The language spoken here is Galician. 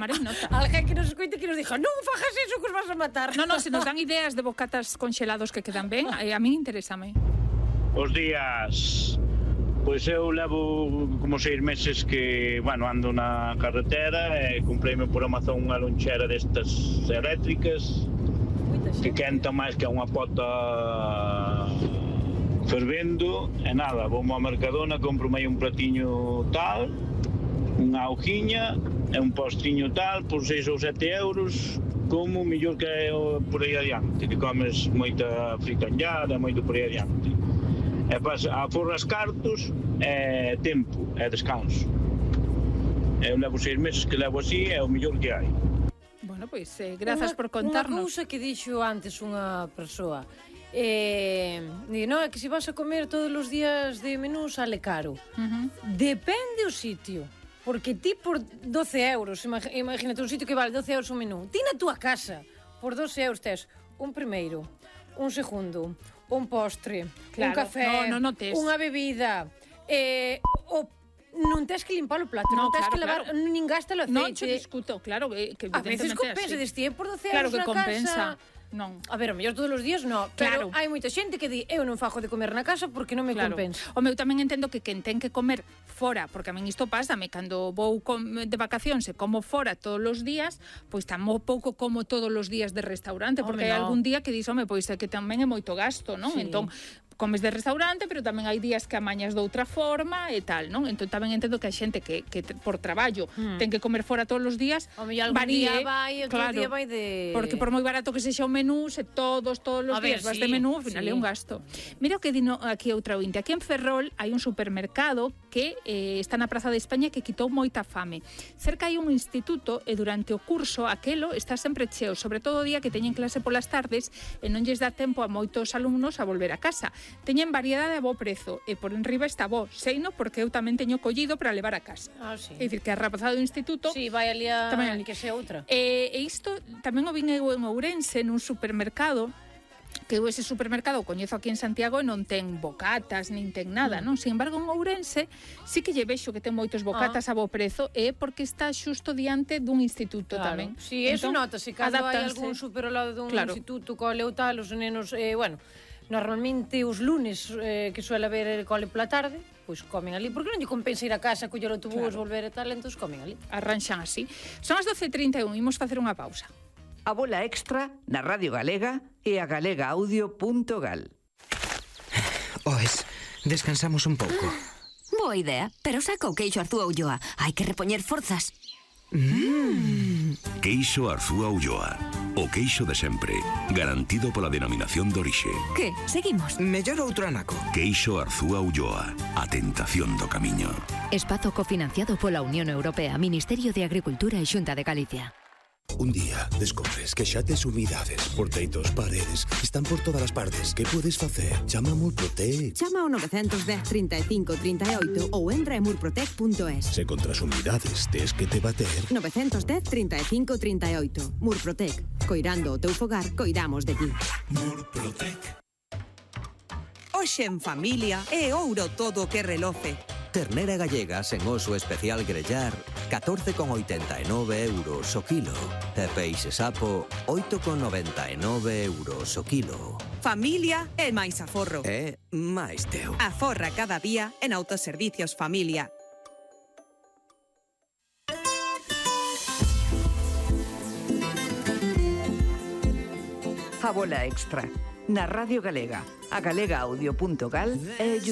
tomarei nota. Alguén que nos escoite que nos dijo, non fajas iso que os vas a matar. No, se nos dan ideas de bocatas conxelados que quedan ben, a mí interésame. Os días... Pois eu levo como 6 meses que, ando na carretera e compreime por Amazon unha lonchera destas eléctricas que quenta máis que unha pota fervendo e nada, vou ao Mercadona, compro aí un platiño tal, unha hojiña e un postriño tal por 6 ou 7 euros, como mellor que é por aí adiante, que comes moita fritanllada, moito por aí adiante. E aforras cartos, é tempo, é descanso. Eu levo 6 meses que levo así, é o mellor que hai. Bueno, pois, grazas por contarnos. Unha cousa que dixo antes unha persoa, non é que se vas a comer todos os días de menú sale caro. Depende o sitio. Porque ti por 12 euros, imagínate un sitio que vale 12 euros un menú, ti na túa casa, por 12 euros tes un primeiro, un segundo, un postre, un café, unha bebida, non tens que limpar o plato, non tens que lavar, nin gasta o aceite. Non, che discuto, claro, que a veces compensa, deste por 12 euros na compensa. Non. A ver, o mellor todos os días non, pero hai moita xente que di eu non fago de comer na casa porque non me compensa. O meu tamén entendo que quen ten que comer fora, porque a min isto pásame, cando vou de vacacións e como fora todos os días, pois tampouco como todos os días de restaurante, porque hai algún día que dis, pois é que tamén é moito gasto, non? Entón, comes de restaurante, pero tamén hai días que amañas de outra forma e tal, non? Entón tamén entendo que hai xente que por traballo ten que comer fora todos os días, varíe, vai, outro día vai de... Porque por moi barato que sexa o menú, se todos os días vas de menú, ao final é un gasto. Mira o que dino aquí outra ointe. Aquí en Ferrol hai un supermercado que está na Praza de España que quitou moita fame. Cerca hai un instituto e durante o curso aquelo está sempre cheo, sobre todo o día que teñen clase polas tardes e non lles dá tempo a moitos alumnos a volver a casa. Teñen variedade a bo prezo e por enriba está bo, seino porque eu tamén teño collido para levar a casa. É dicir, que a rapazada do instituto vai ali a que sea outra. E isto tamén o vin eu en Ourense nun supermercado, que eu ese supermercado o coñezo aquí en Santiago e non ten bocatas, nin ten nada, non? Sin embargo, en Ourense sí que lle vexo que ten moitos bocatas a bo prezo e porque está xusto diante dun instituto tamén. Si, eso notase, cando hai algún super ao lado dun instituto, cole ou tal, os nenos, normalmente os lunes que suele haber cole pola tarde, pois comen ali, porque non lle compensa ir a casa, coller o autobús, volver e tal, entón comen ali. Arranxan así. Son as 12:31, imos facer unha pausa. A bola extra na Radio Galega e a galegaaudio.gal. Descansamos un pouco. Boa idea, pero saca o queixo Arzúa Ulloa. Hai que repoñer forzas. Queixo Arzúa Ulloa. O queixo de sempre, garantido pola denominación de orixe. Que? Seguimos? Mellor outro anaco. Queixo Arzúa Ulloa. A tentación do camiño. Espazo cofinanciado pola Unión Europea, Ministerio de Agricultura e Xunta de Galicia. Un día descobres que xa tes humidades por teitos, paredes, están por todas as partes. Que podes facer? Chama a Murprotec. Chama ao 910 35 38 ou entra en murprotec.es. Se contra as humidades tes que te bater. 910 35 38. Murprotec. Coirando o teu fogar, coidamos de ti. Murprotec. Hoxe en familia é ouro todo o que reloce. Ternera gallega sen oso especial grellar, 14,89 euros o kilo. E peixe sapo, 8,99 euros o kilo. Familia é máis aforro. É máis teu. Aforra cada día en Autoservicios Familia. A bola extra na Radio Galega, a galegaaudio.gal e YouTube.